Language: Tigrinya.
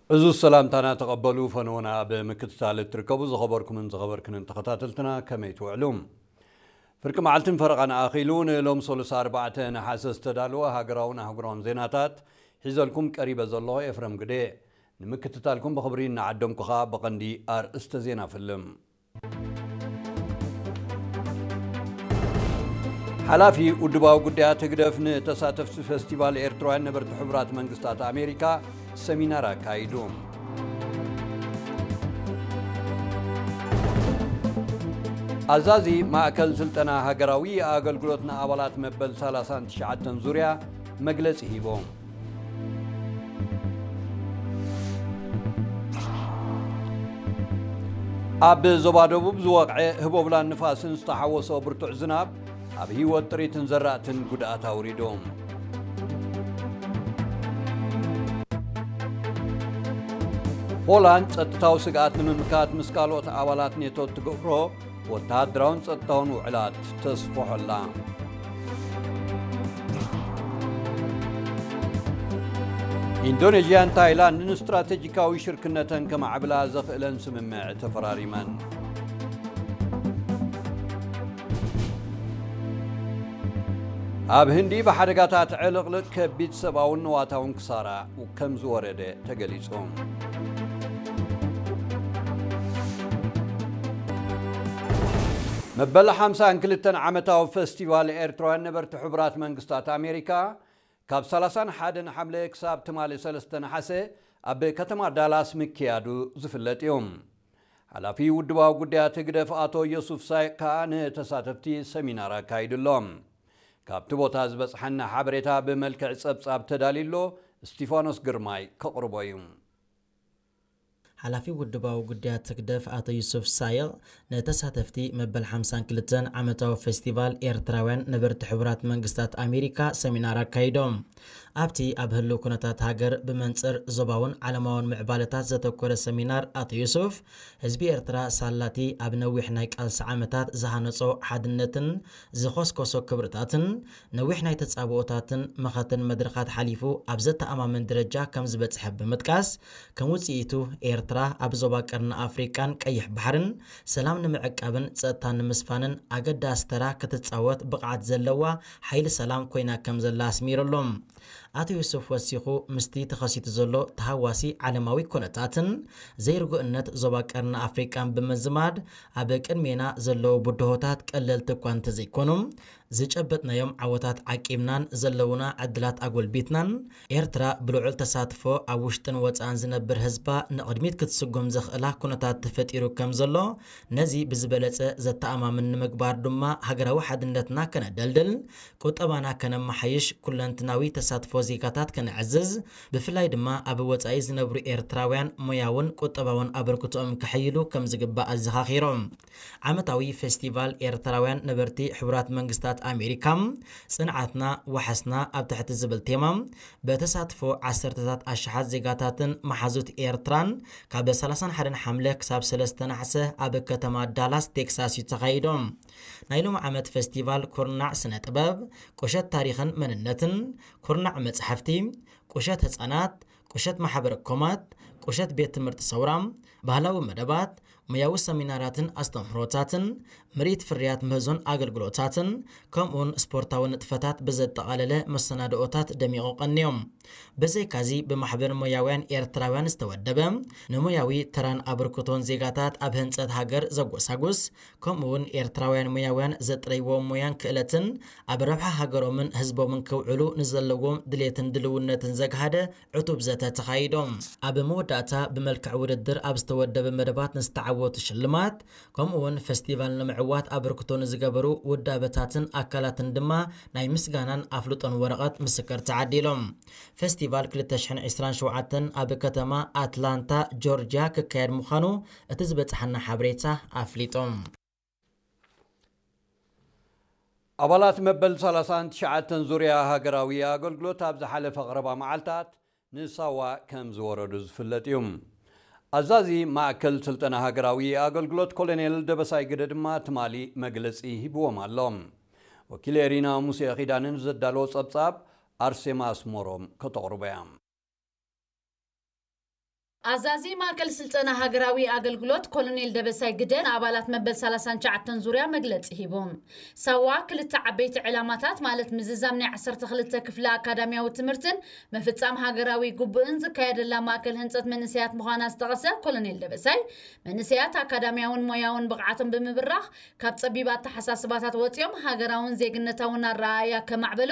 እዚ ሰላምታና ተቐበሉ። ፈነወና ኣብ ምክትታል እትርከቡ ዝኸበርኩምን ዝኸበርክንን ተኸታተልትና፣ ከመይ ትውዕሉ? ፍርቂ መዓልትን ፈረቓን ኣኺሉ ንሎም ሰሉስ ኣርባዕተ ነሓሰ ዝተዳለወ ሃገራውን ኣህጉራውን ዜናታት ሒዘልኩም ቀሪበ ዘለኹ ኤፍረም ግደ። ንምክትታልኩም ብኽብሪ እናዓደምኩ ኸኣ ብቐንዲ ኣርእስተ ዜና ፍልም። ሓላፊ ውድባዊ ጉዳያት ህግደፍ ንተሳተፍቲ ፈስቲቫል ኤርትራውያን ነበርቲ ሕቡራት መንግስታት ኣሜሪካ ሰሚናር ኣካይዱ። ኣዛዚ ማእከል ስልጠና ሃገራዊ ኣገልግሎት ንኣባላት መበል ሰላሳን ትሽዓተን ዙርያ መግለጺ ሂቦም። ኣብ ዞባ ደቡብ ዝወቕዐ ህቦብላን ንፋስን ዝተሓወሶ ብርቱዕ ዝናብ ኣብ ህይወት ጥሪትን ዘራእትን ጉድኣት ኣውሪዱ። ፖላንድ ጸጥታዊ ስግኣት ንምምካት ምስ ካልኦት ኣባላት ኔቶ እትገብሮ ወተሃደራውን ጸጥታውን ውዕላት ተስፍሖ ኣላ። ኢንዶኔዥያን ታይላንድን ስትራቴጂካዊ ሽርክነተን ከማዕብላ ዘኽእለን ስምምዕ ተፈራሪመን። ኣብ ህንዲ ብሓደጋታት ዕልቕልቕ ከቢድ ሰብኣውን ንዋታውን ክሳራ ከም ዝወረደ ተገሊጹ። መበል ሓምሳን ክልተን ዓመታዊ ፈስቲቫል ኤርትራውያን ነበርቲ ሕቡራት መንግስታት ኣሜሪካ ካብ ሰላሳን ሓደን ሓምለ ክሳብ ትማሊ ሰለስተ ነሓሰ ኣብ ከተማ ዳላስ ምክያዱ ዝፍለጥ እዩ። ሓላፊ ውድባዊ ጉዳያት ህግደፍ ኣቶ ዮሱፍ ሳይቅ ከኣ ንተሳተፍቲ ሰሚናር ኣካይዱሎም። ካብቲ ቦታ ዝበጽሓና ሓበሬታ ብመልክዕ ጸብጻብ ተዳልዩ ኣሎ፣ እስቲፋኖስ ግርማይ ከቕርቦ እዩ። ሓላፊ ውድባዊ ጉዳያት ህግደፍ ኣቶ ዩሱፍ ሳይቕ ንተሳተፍቲ መበል ሓምሳን ክልተን ዓመታዊ ፌስቲቫል ኤርትራውያን ነበርቲ ሕቡራት መንግስታት ኣሜሪካ ሰሚናር ኣካይዶም። ኣብቲ ኣብ ህልው ኩነታት ሃገር ብመንጽር ዞባውን ዓለማውን ምዕባለታት ዘተኮረ ሰሚናር ኣቶ ዩሱፍ፣ ህዝቢ ኤርትራ ሳላቲ ኣብ ነዊሕ ናይ ቃልሲ ዓመታት ዝሃነጾ ሓድነትን ዝኾስኮሶ ክብርታትን ነዊሕ ናይ ተጻብኦታትን መኸተን መድረኻት ሓሊፉ ኣብ ዘተኣማምን ደረጃ ከም ዝበጽሐ ብምጥቃስ፣ ከም ውጽኢቱ ኤርትራ ኣብ ዞባ ቀርኒ ኣፍሪቃን ቀይሕ ባሕርን ሰላም ንምዕቃብን ጸጥታ ንምስፋንን ኣገዳሲ ተራ ክትጻወት ብቕዓት ዘለዋ ሓይሊ ሰላም ኮይና ከም ዘላ ኣስሚሩሎም። ኣቶ ዮሱፍ ወሲኹ፣ ምስቲ ተኸሲቱ ዘሎ ተሃዋሲ ዓለማዊ ኩነታትን ዘይርጉእነት ዞባ ቀርኒ ኣፍሪቃን ብምዝማድ፣ ኣብ ቅድሜና ዘለዉ ብድሆታት ቀለልቲ እኳ እንተዘይኮኑ፣ ዝጨበጥናዮም ዓወታት ዓቂብናን ዘለዉና ዕድላት ኣጎልቢትናን፣ ኤርትራ ብልዑል ተሳትፎ ኣብ ውሽጥን ወጻእን ዝነብር ህዝባ ንቕድሚት ክትስጉም ዘኽእላ ኩነታት ተፈጢሩ ከም ዘሎ፣ ነዚ ብዝበለጸ ዘተኣማምን ንምግባር ድማ ሃገራዊ ሓድነትና ከነደልድል፣ ቁጠባና ከነመሓይሽ፣ ኩለንትናዊ ተሳትፎ ዜጋታት ከነዕዝዝ፣ ብፍላይ ድማ ኣብ ወጻኢ ዝነብሩ ኤርትራውያን ሞያውን ቁጠባውን ኣበርክቶኦም ከሐይሉ ከም ዝግባእ ኣዘኻኺሮም። ዓመታዊ ፌስቲቫል ኤርትራውያን ነበርቲ ሕቡራት መንግስታት ኣሜሪካ፣ ጽንዓትና ዋሕስና ኣብ ትሕቲ ዝብል ቴማ፣ በተሳትፎ ዓሰርተታት ኣሽሓት ዜጋታትን መሓዙት ኤርትራን ካብ ሰላሳን ሓደን ሓምለ ክሳብ ሰለስተ ነሓሰ ኣብ ከተማ ዳላስ ቴክሳስ እዩ ተኻይዶም። ናይ ሎም ዓመት ፌስቲቫል ኩርናዕ ስነ ጥበብ፣ ቁሸት ታሪኽን መንነትን፣ ኩርናዕ መጻሕፍቲ፣ ቁሸት ህጻናት፣ ቁሸት ማሕበረ ኮማት፣ ቁሸት ቤት ትምህርቲ ሰውራ፣ ባህላዊ መደባት፣ ሞያዊ ሰሚናራትን ኣስተምህሮታትን፣ ምርኢት ፍርያት ምህዞን ኣገልግሎታትን፣ ከምኡውን ስፖርታዊ ንጥፈታት ብዘጠቓለለ መሰናድኦታት ደሚቑ ቀንዮም። ብዘይካዚ ብማሕበር ሞያውያን ኤርትራውያን ዝተወደበ፣ ንሞያዊ ተራን ኣበርክቶን ዜጋታት ኣብ ህንጸት ሃገር ዘጎሳጉስ፣ ከምኡውን ኤርትራውያን ሞያውያን ዘጥረይዎ ሞያን ክእለትን ኣብ ረብሓ ሃገሮምን ህዝቦምን ክውዕሉ ንዘለዎም ድሌትን ድልውነትን ዘግሃደ ዕቱብ ዘተ ተኻይዶም። ኣብ መወዳእታ ብመልክዕ ውድድር ኣብ ዝተወደበ መደባት ንዝተዓወቱ ሽልማት፣ ከምኡውን ፈስቲቫል ንምዕዋት ኣበርክቶ ንዝገበሩ ውዳበታትን ኣካላትን ድማ ናይ ምስጋናን ኣፍልጦን ወረቐት ምስክር ተዓዲሎም። ፈስቲቫል ክልተ ሽሕን ዕስራን ሸውዓተን ኣብ ከተማ ኣትላንታ ጆርጅያ ክካየድ ምዃኑ እቲ ዝበጽሓና ሓበሬታ ኣፍሊጡ። ኣባላት መበል ሰላሳን ትሽዓተን ዙርያ ሃገራዊ ኣገልግሎት ኣብ ዝሓለፈ ቀረባ መዓልታት ንሳዋ ከም ዝወረዱ ዝፍለጥ እዩ። ኣዛዚ ማእከል ስልጠና ሃገራዊ ኣገልግሎት ኮሎኔል ደበሳይ ግደ ድማ ትማሊ መግለጺ ሂብዎም ኣሎ። ወኪል ኤሪና ሙሴ ኺዳንን ዘዳለዎ ጸብጻብ ኣርሴማ ኣስመሮም ከተቕርቦ እያ። ኣዛዚ ማእከል ስልጠና ሃገራዊ ኣገልግሎት ኮሎኔል ደበሳይ ግደ ንኣባላት መበል ሰላሳን ትሽዓተን ዙርያ መግለጺ ሂቦም። ሳዋ ክልተ ዓበይቲ ዕላማታት ማለት ምዝዛም ናይ ዓሰርተ ክልተ ክፍለ ኣካዳሚያዊ ትምህርትን ምፍጻም ሃገራዊ ግቡእን ዝካየደላ ማእከል ህንጸት መንእሰያት ምዃና ዝጠቐሰ ኮሎኔል ደበሳይ፣ መንእሰያት ኣካዳሚያውን ሞያውን ብቕዓቶም ብምብራኽ ካብ ጸቢብ ኣተሓሳስባታት ወጺኦም ሃገራውን ዜግነታውን ኣረኣእያ ከማዕበሉ